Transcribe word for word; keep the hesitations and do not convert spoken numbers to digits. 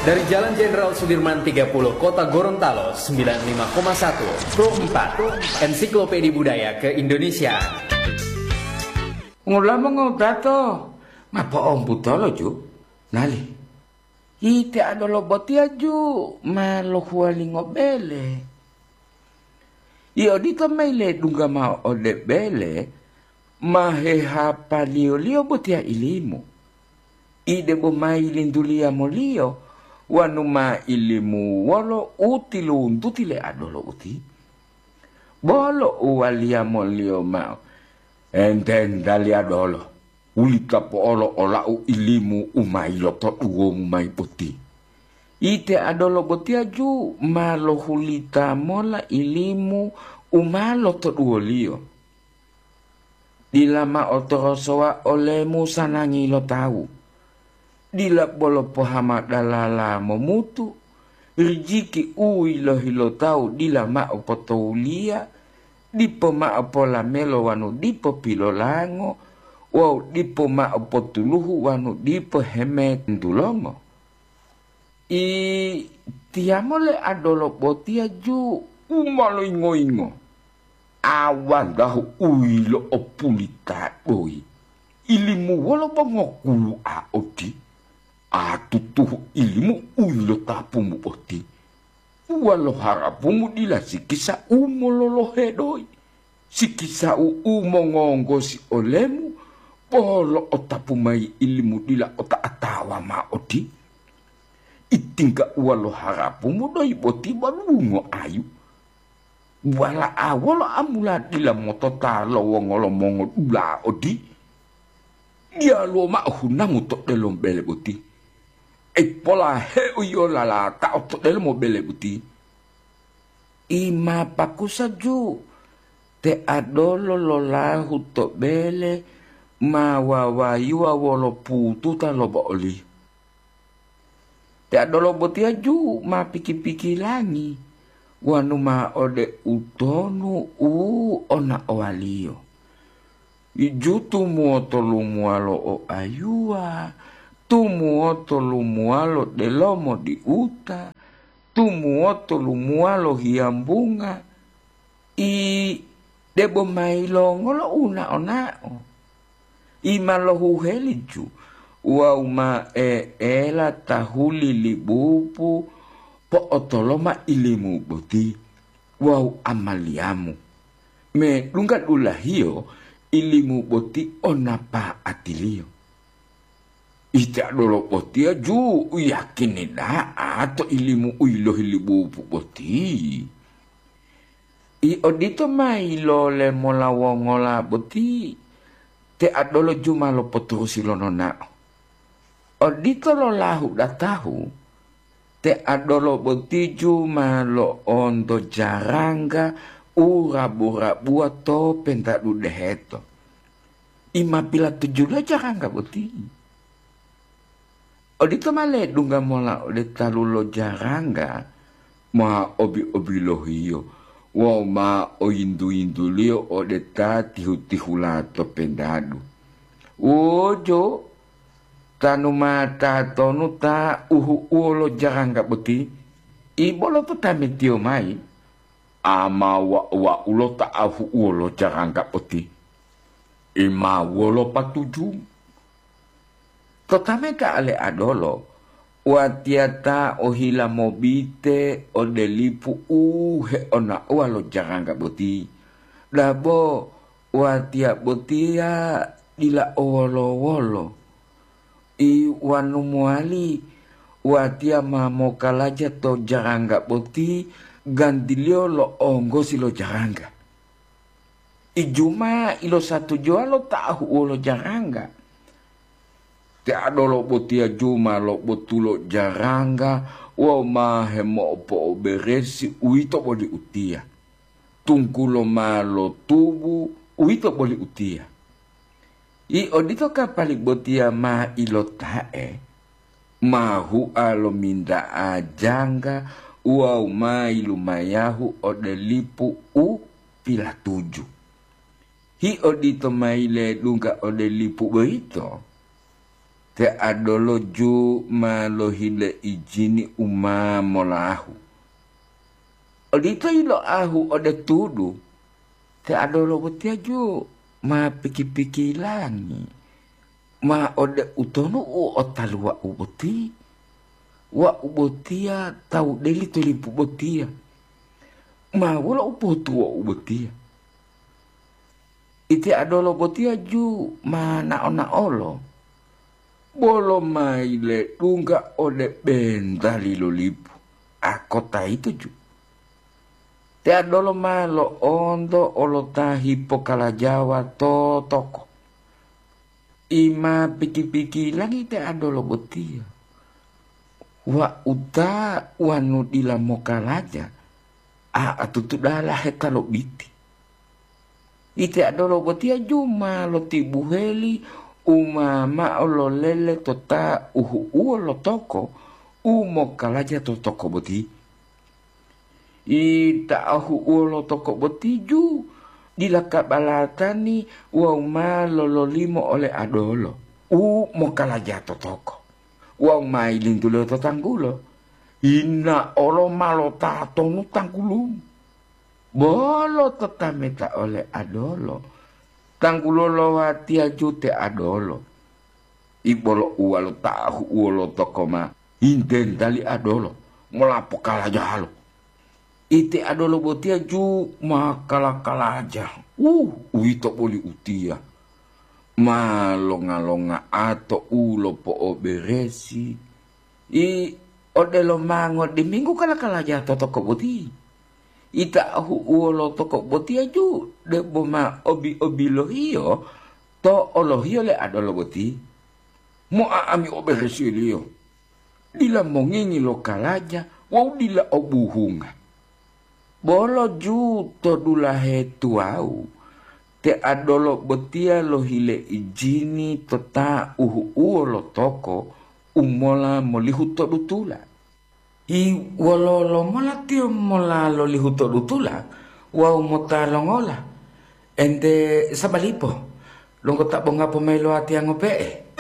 Dari Jalan Jenderal Sudirman tiga puluh, Kota Gorontalo, sembilan lima koma satu, Pro empat, Ensiklopedia Budaya ke-Indonesia. Ngulama ngodato, ma po'omputolo ju, nali. Ite adolo botiya ju ma lohuwalingo bele. I odito mayi ledungga mao ode bele, ma hehapaliyoliyo botiya ilimu. Ide bo mayi lintuliya moliyo, wanu ma ilimu wolo u tiluntuti le adolo uti. Bolo uwaliya moliyo mao, ententali adolo, wulita po'olo olau ilimu u ma yilotoduwomu mayi boti. Ite adolo botiya ju ma lohulita mola ilimu u ma lotoduwoliyo. Dila mao torosowa olemu sanangi lo tawu. Dila bolo pohama dalala momutu, rijiki u yilohi lo tawu dila mao potowuliya, dipo mao polamelo wanu dipo pilolango, wawu dipo mao potuluhu wanu dipo hemetulongo. I tiyamo le adolo botiya ju u ma loyingo-yingo. Awandahu u yilo'opulita doyi, ilimu wolo bo ngokulu'a oti, a tutuhu ilimu u yilotapumu boti. Wolo harapumu dila sikisa u mololohe doyi, sikisa u, u mongonggosi olemu, bo lo'otapu mayi ilimu dila ota'atawa mao oti. Itingga uwa lo harapumu doyi boti bo dungo ayu. Wala'a wolo amula dila motota lo wongolo mongodula odi? Diyaluwo mao hunamu to delomo bele boti. Ipolaheu yio lalatao to delomo bele boti. I ma pakusa ju, te adolo lolahu to bele ma wawayuwa wolo pututa lo bo'oli. Te adolo botiya ju ma piki-pikilangi, wanu ma ode utonu u onaowaliyo. Ju tumuwoto lumuwalo o ayuwa, tumuwoto lumuwalo delomo diuta, tumuwoto lumuwalo hiyambunga, i debo mayi longolo u nao-nao? I ma lohuheliju wawu ma e'ela tahuli libupu po'otoloma ilimu boti wawu amaliyamu, medungga dulahiyo ilimu boti o napa'atiliyo. Ite adolo botiya ju u yiyakini da'a to ilimu u yilohi libupu boti. I odito ma yilole mola wongola boti, te adolo ju ma lopoturusi lo nonao. Odito lolahu datahu, te adolo boti ju ma lo'onto jarangga u rabu-rabuwa to pentadu deheto. I ma pilatujuliyo jarangga boti. Odito ma ledungga mola ode talu lo jarangga, ma obi-obilohiyo wawu ma oyintu-yintuliyo ode ta tihu-tihula to pentadu. Wojo, tanu ma tatonu ta uhu'uwo lo jarangga boti? I bolo to tametiyo mayi, ama wa-, wa'ulo ta ahu'uwo lo jarangga boti. I ma wolo patuju? To tameta ale adolo, watiya ta ohila mobite ode lipu u heona'owa lo jarangga boti. Dabo watiya botiya dila owolo-wolo. I wanu mowali watiya ma mokalaja to jarangga boti gantiliyo lo onggosi lo jarangga. Ijuma ilosatujuwa lo ta ahu'uwo lo jarangga. Te adolo botiya juma lo botulo jarangga wawu ma hemo'opo'oberesi, uwito boli utiya. Tunggulo ma lotubu, uwito boli utiya. I odito kapali botiya ma ilota'e, ma hua lominta'a jangga wawu ma yilumayahu ode lipu u pilatuju. Hi odito ma yiledungga ode lipu boyito, Te Adolo ju ma lohile ijini u ma molahu. Odito yiloahu ode tudu, te Adolo botiya ju ma piki-pikilangi, ma ode utonu u otaluwa'u boti. Wa'u botiya tawu deli to lipu botiya. Ma wolo u pohutuwo'u botiya? Iti Adolo botiya ju ma nao-naolo, bolo ma yiledungga ode bentali lo lipu, a kota yito ju. Te Adolo ma lo'onto olota hipokalajawa to toko. I ma piki-pikilangi te Adolo botiya. Wa'u ta wanu dila mokalaja, a atutu dalahe ta lobiti. Ite Adolo botiya ju ma lotibuheli u ma mao lolele to ta uhu'uwo lo toko u mokalaja to toko boti. Ita ahu'uwo lo toko boti ju dila kabalatani wawu ma lololimo ole Adolo u mokalaja to toko wawu ma yilintuliyo to tanggulo. Yina olo ma lotatonu tanggulumu. Bolo totameta ole Adolo, tanggulo lo watiya ju te Adolo. Ibolo uwalo ta ahu'uwo lo toko ma yintentali Adolo mola pokalajalo. Ite Adolo botiya ju ma kala-kalaja, uh, uwito boli utiya. Ma longa-longa'a to u lopo'oberesi. I odelo mango diminggu kala-kalaja to toko boti. Ita ahu'uwo lo toko botiya ju debo ma obi-obilohiyo to olohiyo le Adolo boti. Mo'a'ami oberesiliyo. Dila mongingi lo kalaja wawu dila o buhunga. Bolo ju to dulahe tuwawu, te Adolo botiya lohile ijini to ta uhu'uwo lo toko u mola molihu to dutula. I wololo mola tiyo mola lolihu to dutula wawu mota longola? Ente sabalipo, longgota bonga pomailowa tiyango pe'e.